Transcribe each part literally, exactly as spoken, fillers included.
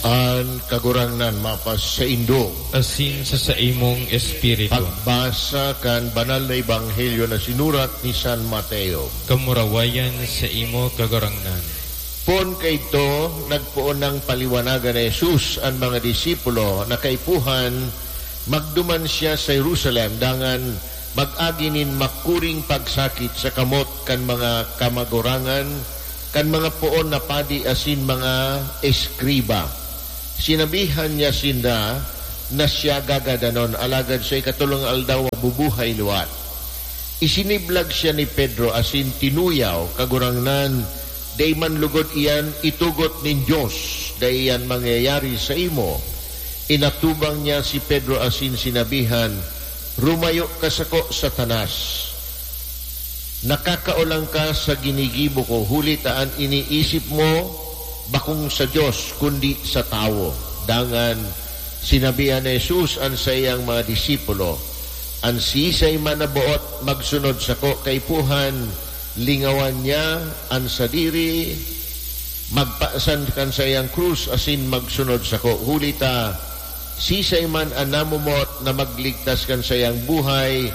An Kagurangnan mapasaindo. Asin sa saimong espiritu. Pagbasa kan Banal na Ebanghelyo na sinurat ni San Mateo. Kamurawayan sa imo, Kagurangnan. Poon kaidto, nagpoon nang paliwanagan ni Jesus an mga disipulo na kaipuhan magduman siya sa Jerusalem dangan mag-agi nin makuring pagsakit sa kamot kan mga kamagurangan, kan mga poon na padi asin mga eskriba. Sinabihan niya sinda na siya gagadanon, alagad sa ikatolong aldaw mabubuhay liwat. Isiniblag siya ni Pedro asin tinuyaw, "Kagurangnan, dai man logod iyan itugot nin Dios, dai iyan mangyayari saimo." Inatubang niya si Pedro asin sinabihan, "Rumayo ka sako, Satanas! Nakakaolang ka sa ginigibo ko, huli ta an iniisip mo bakong sa Dios, kundi sa tawo." Dangan sinabihan ni Jesus an saiyang mga disipulo, "An siisay man na boot magsunod sako kaipuhan, lingawan niya an sadiri, magpasan kan saiyang krus asin magsunod sako. Huli ta, siisay man an namumot na magligtas kan saiyang buhay,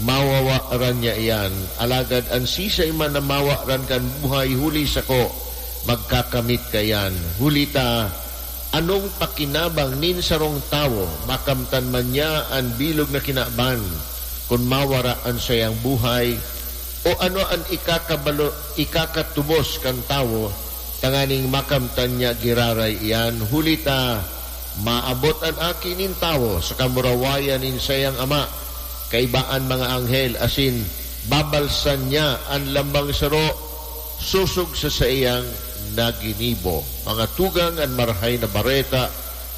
mawawaran niya iyan. Alagad an siisay man na mawaran kan buhay huli sako, magkakamit kaiyan. Huli ta, anong pakinabang nin sarong tawo, makamtan man niya an bilog na kinaban, kun mawara an saiyang buhay? O ano an ikakabalo-, ikakatubos kan tawo, tanganing makamtan niya giraray iyan? Huli ta, maabot an Aki nin Tawo sa kamurawayan nin saiyang Ama, kaiba an mga anghel, asin babalsan niya an lambang saro sosog sa saiyang naginibo." Mga tugang, an Marahay na Bareta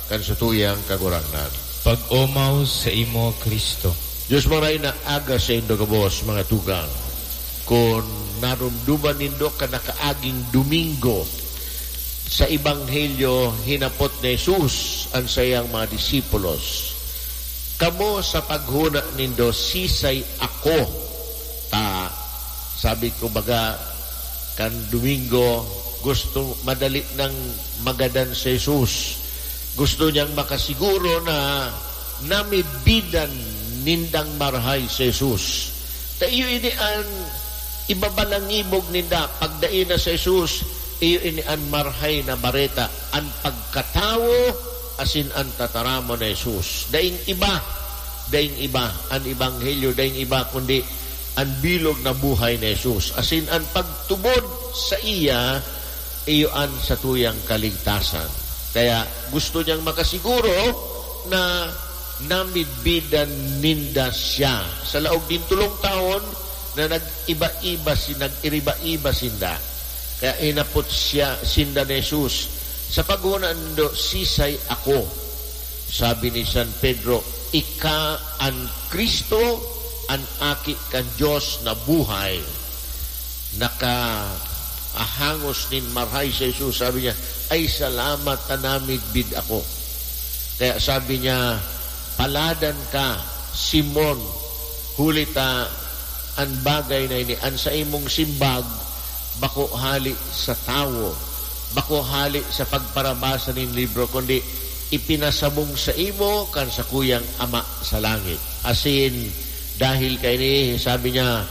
kan satuyang Kagurangnan. Pag-omaw sa imo, Cristo. Dios Marahay na aga saindo gabos, mga tugang. Kun naromdoman nindo kan nakaaging Domingo, sa Ebanghelyo, hinapot ni Jesus an saiyang mga disipulos, "Kamo, sa paghona nindo, sisay ako?" Ta, sabi ko, baga, kan Domingo, gusto, madali nang magadan si Jesus. Gusto niyang makasiguro na namidbidan nindang marahay si Jesus. Ta iyo ini an ibabalangibog ninda. Pagdai na si Jesus, iyo ini an Marahay na Bareta, an pagkatawo asin an tataramon ni Jesus. Daing iba, daing iba an ebanghelyo, daing iba kundi an bilog na buhay ni Jesus, asin an pagtubod saiya, iyo an satuyang kaligtasan. Kaya gusto niyang makasiguro na namidbidan ninda siya. Sa laog nin tolong taon na nag-iba-iba si-, nag-iriba-iba sinda. Kaya hinapot siya, sinda ni Jesus, "Sa paghona nindo, sisay ako?" Sabi ni San Pedro, "Ika an Cristo, an Aki kan Dios na buhay." Nakaahangos nin marahay si Jesus. Sabi niya, "Ay, salamat ta namidbid ako." Kaya sabi niya, "Paladan ka, Simon, huli ta an bagay na ini, an saimong simbag, bako hale sa tawo, bako hale sa pagparabasa nin libro, kundi ipinasabong saimo kan sakuyang Ama sa langit." Asin, dahil kaini, sabi niya,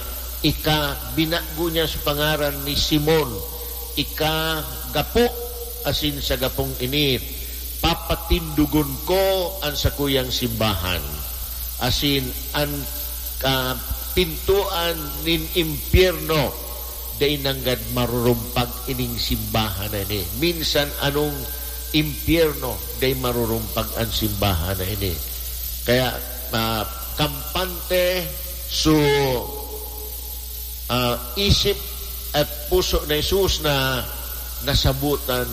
"Ika," binago niya sa pangaran ni Simon, "ika gapo, asin sa gapong ini, papatindogon ko an sakuyang simbahan, asin an, ah, pintoan nin impyerno dai nanggad marurumpag ining simbahan na ini." Minsan anong impyerno, dai marurumpag an simbahan na ini. Kaya, ah, kampante so, ah, isip at puso na Jesus na nasabotan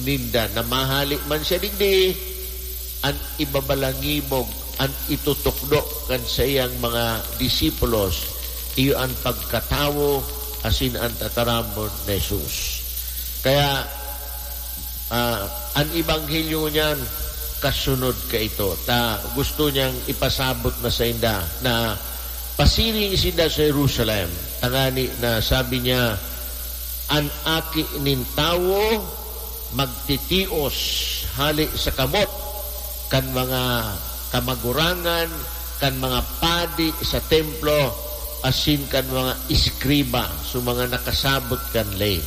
ninda na mahale man siya digdi, an ibabalangibog, an itutukdo kan saiyang mga disipulos, iyo an pagkatawo asin an tataramon na Jesus. Kaya, ah, an ebanghelyo niyan kasunod kaito, ta gusto niyang ipasabot na sainda na pasiring sinda sa Jerusalem, tangani na sabi niya, "An Aki nin Tawo magtitios hali sa kamot kan mga kamagurangan, kan mga padi sa templo, asin kan mga eskriba, so mga nakasabot kan ley.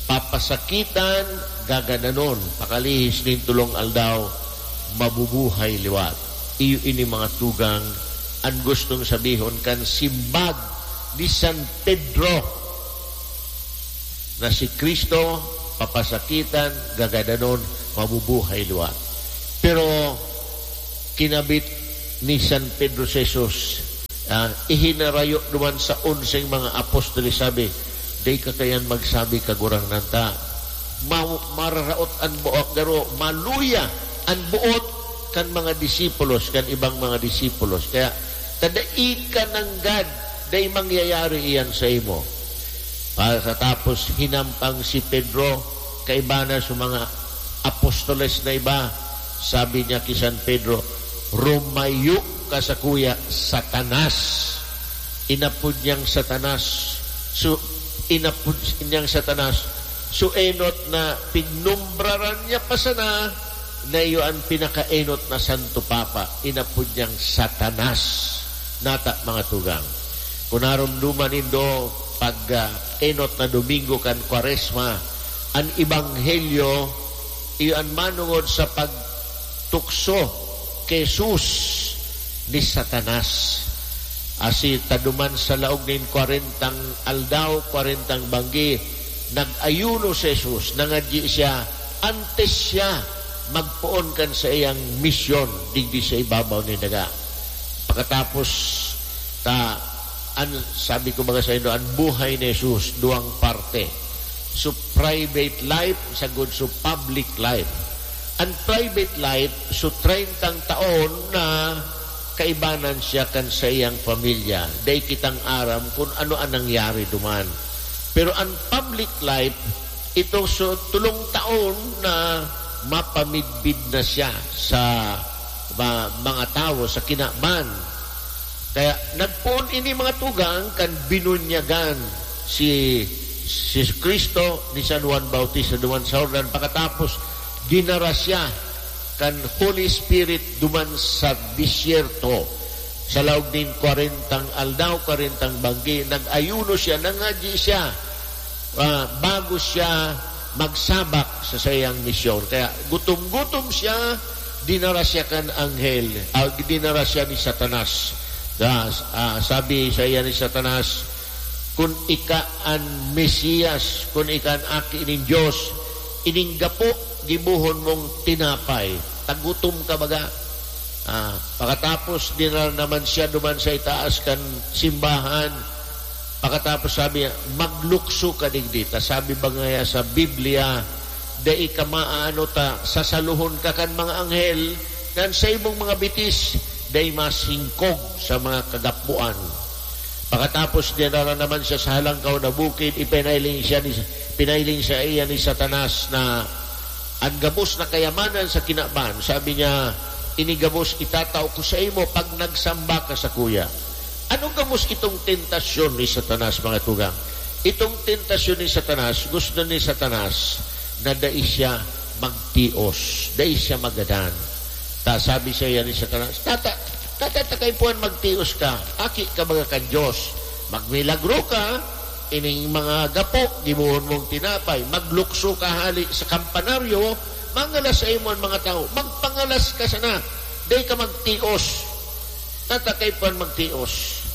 Papasakitan, gagadanon, pakalihis nin tolong aldaw, mabubuhay liwat. Iyo ini mga tugang, an gustong sabihon kan simbag ni San Pedro, na si Cristo papasakitan, gagadanon, mabubuhay liwat. Pero kinabit ni San Pedro si Jesus, ah, ihinarayo duman sa onseng mga apostoles, sabi, "Dai ka kaiyan magsabi, Kagurangnan, ta ma-, mararaot an buot, garo maluya an buot kan mga disipulos, kan ibang mga disipulos. Kaya, ta dai ka nanggad, dai mangyayari iyan saimo." Pagkatapos, hinampang si Pedro, kaiba na sa mga apostoles na iba, sabi niya ki San Pedro, "Rumayo ka sakuya, Satanas." Inapod niyang Satanas. So, inapod niyang Satanas. So, enot na pinumbraran niya pa sana, na iyo an pinakaenot na Santo Papa, inapod niyang Satanas. Nata, mga tugang. Kung naromdoman nindo, pag, ah, enot na Domingo kan Kwaresma, an Ebanghelyo, iyo an manongod sa pagtukso ki Jesus ni Satanas. Asin ta duman sa laog nin kwarentang aldaw, kwarentang banggi, nag-ayuno si Jesus, nangadyi siya, antes siya magpoon kan saiyang misyon digdi sa ibabaw nin daga. Pakatapos ta, an, sabi ko baga saindo, an buhay ni Jesus, duwang parte. So, private life, sagkod so public life. An private life, so treyntang taon na kaibanan siya kan saiyang pamilya. Dai kitang aram kun ano an nangyari duman. Pero an public life, ito so tolong taon na mapamidbid na siya sa ma-, mga tawo, sa kinaban. Kaya nagpoon ini, mga tugang, kan binunyagan si, si Cristo ni San Juan Bautista duman sa Jordan. Pakatapos, dinara siya kan Holy Spirit duman sa disyerto. Sa laog nin kwarentang aldaw, kwarentang banggi, nag-ayuno siya, nangadyi siya, ah, bago siya magsabak sa saiyang misyon. Kaya gutom-gutom siya, dinara siya kan anghel, ah, dinara siya ni Satanas. Ah, ah, sabi saiya ni Satanas, "Kun ika an Mesiyas, kun ika an Aki nin Dios, ining gapo gibohon mong tinapay. Tagutom ka baga?" Ah, pakatapos, dinara naman siya duman sa itaas kan simbahan. Pakatapos sabi niya, "Maglukso ka digdi, ta sabi ba ngaya sa Biblia, 'Dai ka maaano ta sasalohon ka kan mga anghel, kan saimong mga bitis dai masingkog sa mga kagapoan.'" Pakatapos, dinara naman siya sa halangkaw na bukid, ipinailing siya ni, pinailing saiya ni Satanas na an gabos na kayamanan sa kinaban. Sabi niya, "Ini gabos itatao ko saimo pag nagsamba ka sakuya." Ano gabos itong tentasyon ni Satanas, mga tugang? Itong tentasyon ni Satanas, gusto ni Satanas na dai siya magtios, dai siya magadan. Ta sabi saiya ni Satanas, "Tata, tata, ta kaipuhan magtios ka, aki ka baga kan Dios. Magmilagro ka, ining mga gapo, gibohon mong tinapay, maglukso ka hali sa kampanaryo, mangalas saimo an mga tawo, magpangalas ka sana, dai ka magtios. Tata kaipuhan magtios."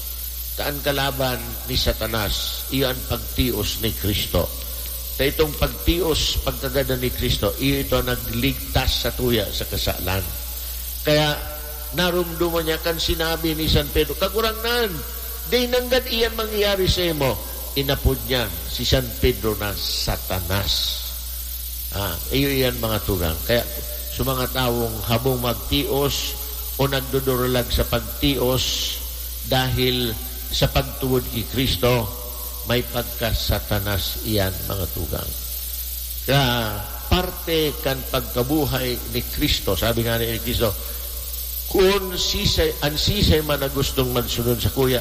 Ta an kalaban ni Satanas, iyo an pagtios ni Cristo. Ta itong pagtios, pagkagadan ni Cristo, iyo ito an nagligtas satuya sa kasalan. Kaya, naromdoman niya kan sinabi ni San Pedro, "Kagurangnan, dai nanggad iyan mangyayari saimo." Inapod niya si San Pedro na Satanas. Ah, iyo iyan, mga tugang. Kaya, sa mga tawong habong magtios o nagduduralag sa pagtios dahil sa pagtubod ki Cristo, may pagka-Satanas iyan, mga tugang. Kaya, parte kan pagkabuhay ni Cristo, sabi nga ni Cristo, "Kun sisay, an sisay man na gustong magsunod sakuya,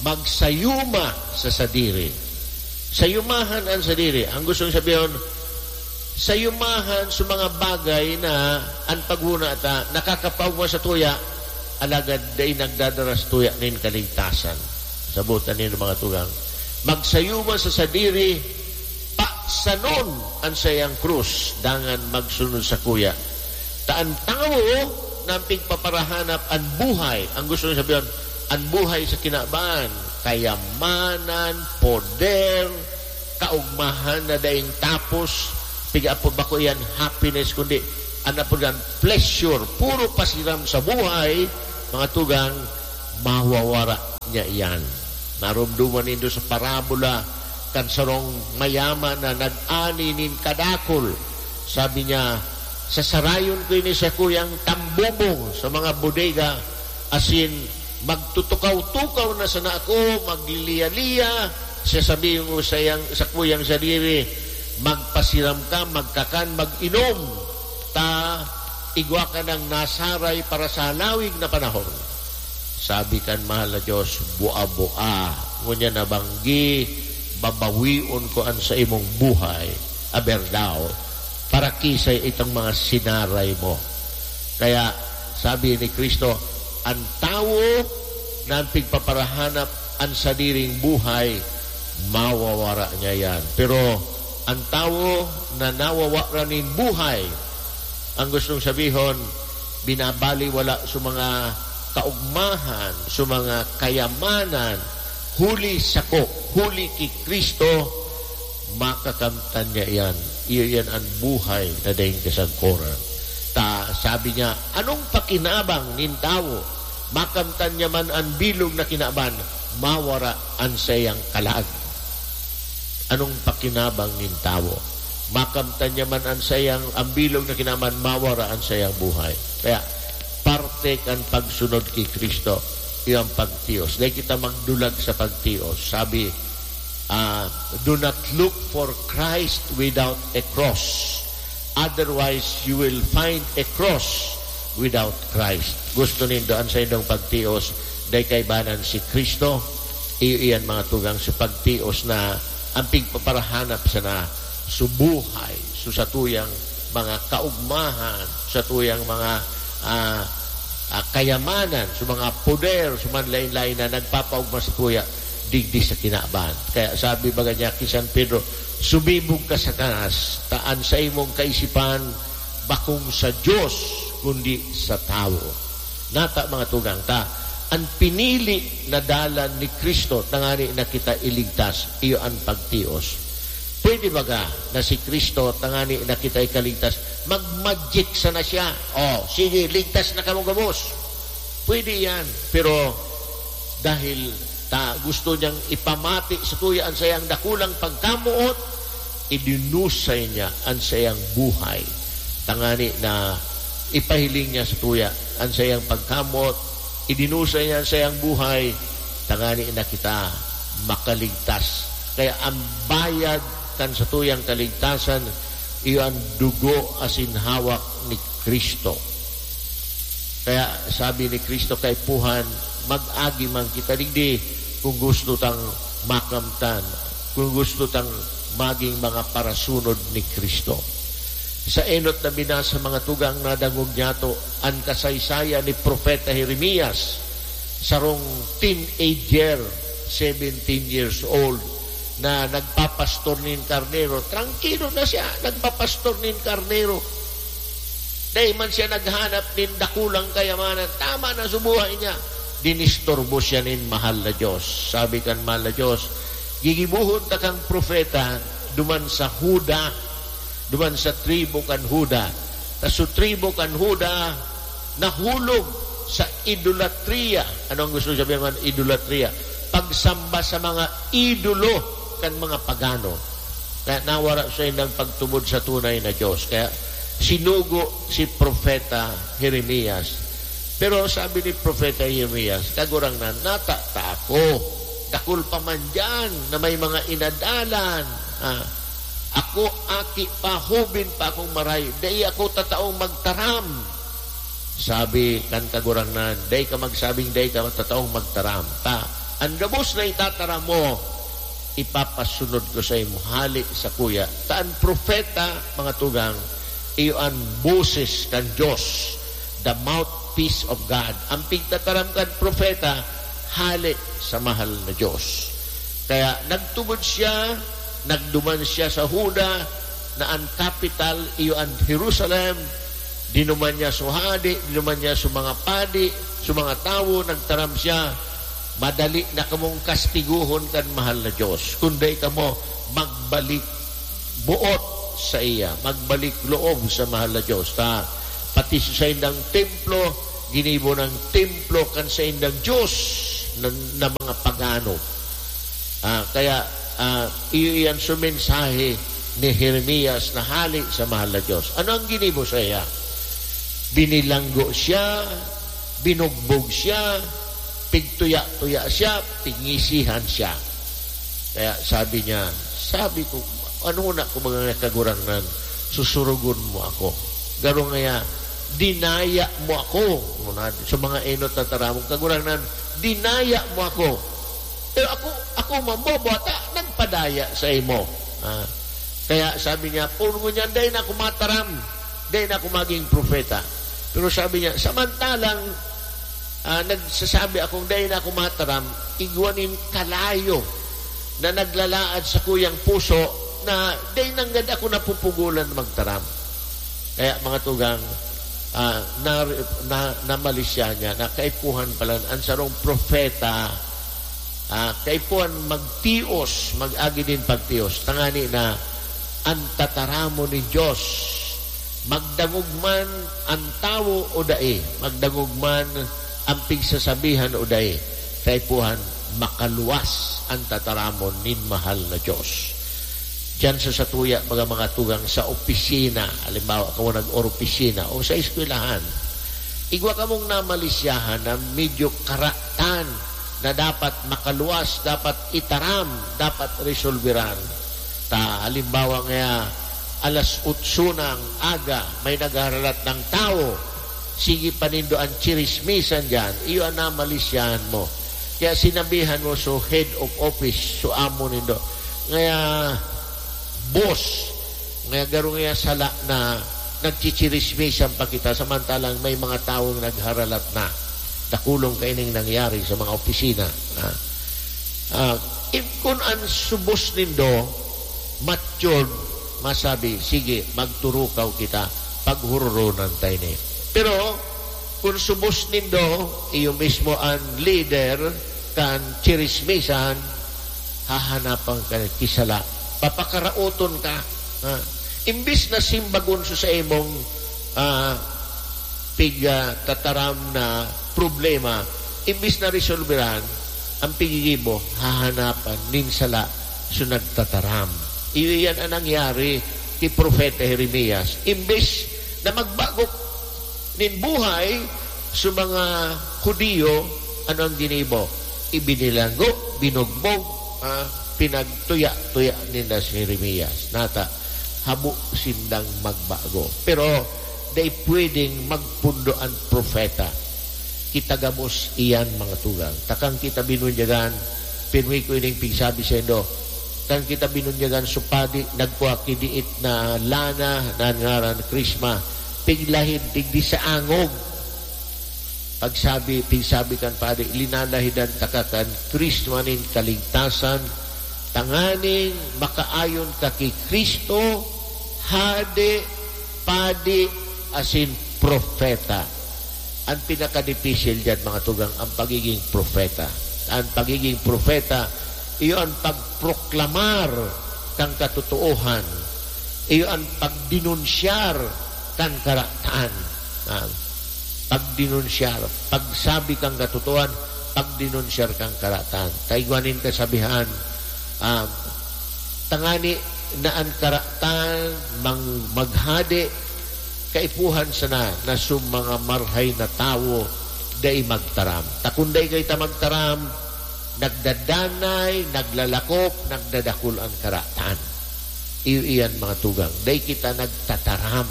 magsayuma sa sadiri." Sayumahan an sadiri. Ang gustong sabihon, Sayumahan sa mga bagay na an paghona ta nakakapaogma sa tuya, alagad dai nagdadara sa tuya nin kaligtasan. Sabotan nindo, mga tugang, magsayuma sa sadiri, paksanon an saiyang krus, dangan magsunod sakuya. Ta an tawo na pigpaparahanap an buhay, ang gusto niya sabihin, an buhay sa kinaban, kayamanan, poder, kaogmahan na daing tapos, piga apo bako iyan happiness, kundi an apo diyan, pleasure, puro pasiram sa buhay, mga tugang, mawawara niya iyan. Naromdoman nindo sa parabola kan sarong mayaman na nag-ani nin kadakul. Sabi niya, "Sasarayon ko ini sa kuyang tambubong sa mga bodega, asin magtutukaw-tukaw na sana ako, magliliya-liya." Siya sabi mo sa iyang, sa kuyang sadiri, "Magpasiram ka, magkakan, mag-inom, ta igwa ka nang nasaray para sa halawig na panahon." Sabi kan mahal na Diyos, "Bua-bua, ngunyan na banggi, babawion ko an sa imong buhay." Aber daw, para kisay itong mga sinaray mo. Kaya sabi ni Kristo, "An tawo na pigpaparahanap an sadiring buhay, mawawara niya yan. Pero an tawo na nawawara nin buhay," ang gustong sabihon, binabaliwala sa mga kaugmahan, sa mga kayamanan, huli sako, huli ki Kristo, makakamtan niya iyan. Iyo iyan an buhay na daing kasagkoran. Ta, sabi niya, "Anong pakinabang nin tawo? Makamtan niya man an bilog na kinaban, mawara an saiyang kalag." Anong pakinabang nin tawo? Makamtan niya man an saiyang, an bilog na kinaban, mawara an saiyang buhay. Kaya, parte kan pagsunod ki Kristo, iyo an pagtios. Dai kita magdulag sa pagtios. Sabi, ah, "Do not look for Christ without a cross. Otherwise, you will find a cross without Christ." Gusto nindo an saindong pagtios, dai kaibanan si Kristo, iyo iyan, mga tugang, sa pagtios na an pigpaparahanap sana sa buhay, sa satuyang mga kaugmahan, satuyang mga, ah, ah, kayamanan, sa mga poder, sa mga lain-lain na nagpapaugma sa tuya digdi sa kinaban. Kaya sabi baga niya ki San Pedro, "Sumibog ka, Satanas, ta an saimong kaisipan bakong sa Dios, kundi sa tawo." Nata, mga tugang, ta an pinili na dalan ni Kristo tangani na kita iligtas, iyo an pagtios. Pwede baga na si Kristo tangani na kita ikaligtas, mag-magic sana siya? "Oh, sige, ligtas na kamo gabos." Pwede yan. Pero dahil ta gusto niyang ipamati sa tuya an sayang dakulang pagkamoot, idinusay niya an sayang buhay. Tangani na ipahiling niya sa tuya an sayang pagkamoot, idinusay niya an sayang buhay, tangani na kita makaligtas. Kaya ang bayad kan satuyang kaligtasan, iyo an dugo asin hawak ni Kristo. Kaya sabi ni Kristo kaipuhan, "Mag-agi man kita digdi kung gusto tang makamtan, kung gusto tang maging mga parasunod ni Kristo." Sa enot na binasa, mga tugang, nadangog niyato an kasaysayan ni Propeta Jeremias, sarong teenager, seventeen years old, na nagpapastor nin karnero. Trangkilo na siya, nagpapastor nin karnero. Dai man siya naghanap nin dakulang kayamanan. Tama na sa buhay niya. Dinisturbo siya nin mahal na Diyos. Sabi kan mahal na Diyos, "Gigibohon ta kang propeta duman sa Juda, duman sa tribo kan Juda." Ta sa tribo kan Juda, nahulog sa idolatria. Ano ang gusto sabihin man idolatria? Pagsamba sa mga idolo kan mga pagano. Kaya nawara saindang pagtubod sa tunay na Diyos. Kaya sinugo si Propeta Jeremias. Pero sabi ni Propeta Jeremias, "Kagurangnan, nata ta ako. Dakul pa man diyan na may mga inadalan. Ah, ako, aki pa, hoben pa akong maray. Dai ako tataong magtaram." Sabi kan Kagurangnan, "Dai ka magsabing dai ka tataong magtaram. Ta, an gabos na itataram mo, ipapasunod ko saimo hale sakuya. Ta an propeta, mga tugang, iyo an boses kan Dios, the mouthpiece of God. An pigtataram kan propeta, hale sa mahal na Dios. Kaya nagtubod siya, nagduman siya sa Juda, na an kapital iyo an Jerusalem. Dinuman niya so hade, dinuman niya so mga padi, so mga tawo, nagtaram siya, "Madali na kamong kastiguhon kan mahal na Dios, kun dai kamo magbalik buot saiya, magbalik loob sa mahal na Dios." Ta, pati sa saindang templo, ginibo nang templo kan saindang Dios na, na mga pagano. Ah, kaya, ah, iyo iyan so mensahe ni Jeremias na hale sa mahal na Dios. Ano ang ginibo saiya? Binilanggo siya, binugbog siya, pigtuya-tuya siya, pigngisihan siya. Kaya sabi niya, sabi ko, "Ano na ko, mga Kagurangnan, susurugon mo ako? Garo ngaya, dinaya mo ako." Muna, sa mga enot na taramong, "Kagurangnan, dinaya mo ako. Pero ako, ako mambobo ata, nagpadaya saimo." Ah, kaya sabi niya, "Poon ngunyan, dai na ako mataram, dai na ako maging propeta." Pero sabi niya, "Samantalang, ah, nagsasabi akong dai na ako mataram, igwa nin kalayo na naglalaad sakuyang puso na dai nanggad ako napupugolan magtaram." Kaya, mga tugang, ah, na, na, namalisya niya na kaipuhan pala an sarong propeta, ah, kaipuhan magtios, mag-agi nin pagtios, tangani na an tataramon nin Dios, magdangog man an tawo o dai, magdangog man an pigsasabihan o dai, kaipuhan makaluwas an tataramon nin mahal na Dios. Diyan sa satuya, mga, mga tugang, sa opisina, halimbawa, kamo nag-oropisina o sa eskwelahan, igwa kamong namalisyahan na medyo karatan na dapat makaluwas, dapat itaram, dapat resolveran. Ta, halimbawa ngaya, alas otso ng aga, may nagharalat ng tawo, sige pa nindo an chirismisan diyan, iyo an namalisyahan mo. Kaya sinabihan mo so head of office, so amo nindo, ngaya, "Boss, ngaya garo ngaya sala na nagchichirismisan pa kita, samantalang may mga tawong nagharalat na." Dakulong kaining nangyari sa mga opisina, ha? Ah, if kun an subos nindo, matured, masabi, "Sige, magturukaw kita, paghuroronan ta ini." Pero, kun subos nindo, iyo mismo an leader kan chirismisan, hahanapan ka ki sala. Papakaraoton ka, ha? Imbis na simbagon sa, sa imong, ah, pig, ah, tataram na problema, imbis na resolveran, ang pigigibo, hahanapan nin sala so nagtataram. Iyo iyan ang nangyari ki Propeta Jeremias. Imbis na magbago nin buhay sa mga Judio, ano ang ginibo? Ibinilanggo, binugbog, ah, pinagtuya-tuya ninda si Jeremias. Nata, habo sindang magbago. Pero dai pwedeng magpundo an propeta. Kita gabos iyan, mga tugang. Ta kan kita binunyagan, pirmi ko ining pigsabi saindo. Kan kita binunyagan, so padi nagkua ki diit na lana na an ngaran krisma, piglahid digdi sa angog. Pagsabi, pigsabi kan padi, "Linalahidan taka kan krisma nin kaligtasan, tanganing makaayon ka ki Cristo, hade, padi, asin propeta." An pinakadipisil diyan, mga tugang, ang pagiging propeta. An pagiging propeta, iyo an pagproklamar kan katotoohan. Iyo an pagdenunsyar kan karatan. Ah, pagdenunsyar, pagsabi kan katotoohan, pagdenunsyar kan karatan. Ta igwa nin kasabihan, ah, tangani na an karatan mang-, maghade, kaipuhan sana na so mga marhay na tawo dai magtaram. Ta kun dai kita magtaram, nagdadanay, naglalakop, nagdadakul an karatan. Iyo iyan, mga tugang. Dai kita nagtataram.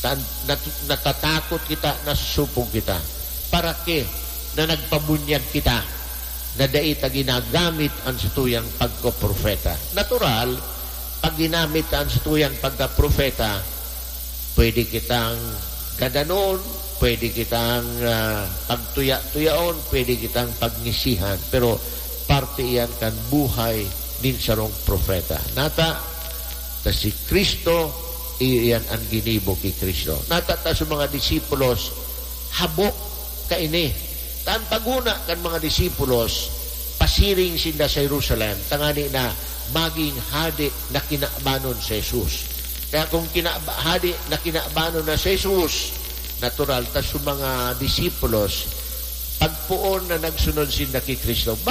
Tan-, nat-, natatakot kita, nasusupog kita. Para ki na nagpabunyag kita. na dai ta ginagamit an satuyang pagkapropeta. Natural, pag ginamit ta an satuyang pagkapropeta, pwede kitang gadanon, pwede kitang, ah, pagtuya-tuyaon, pwede kitang pagngisihan, pero parte iyan kan buhay nin sarong propeta. Nata, ta si Cristo, iyo iyan an ginibo ki Cristo. Nata ta sa mga disipulos, habo kaini. Ta an paghona kan mga disipulos, pasiring sinda sa Jerusalem, tangani na magin hade na kinabanon si Jesus. Kaya kung kinaba-, hade na kinabanon na si Jesus, natural ta sa mga disipulos, pagpoon na nagsunod sinda ki Cristo.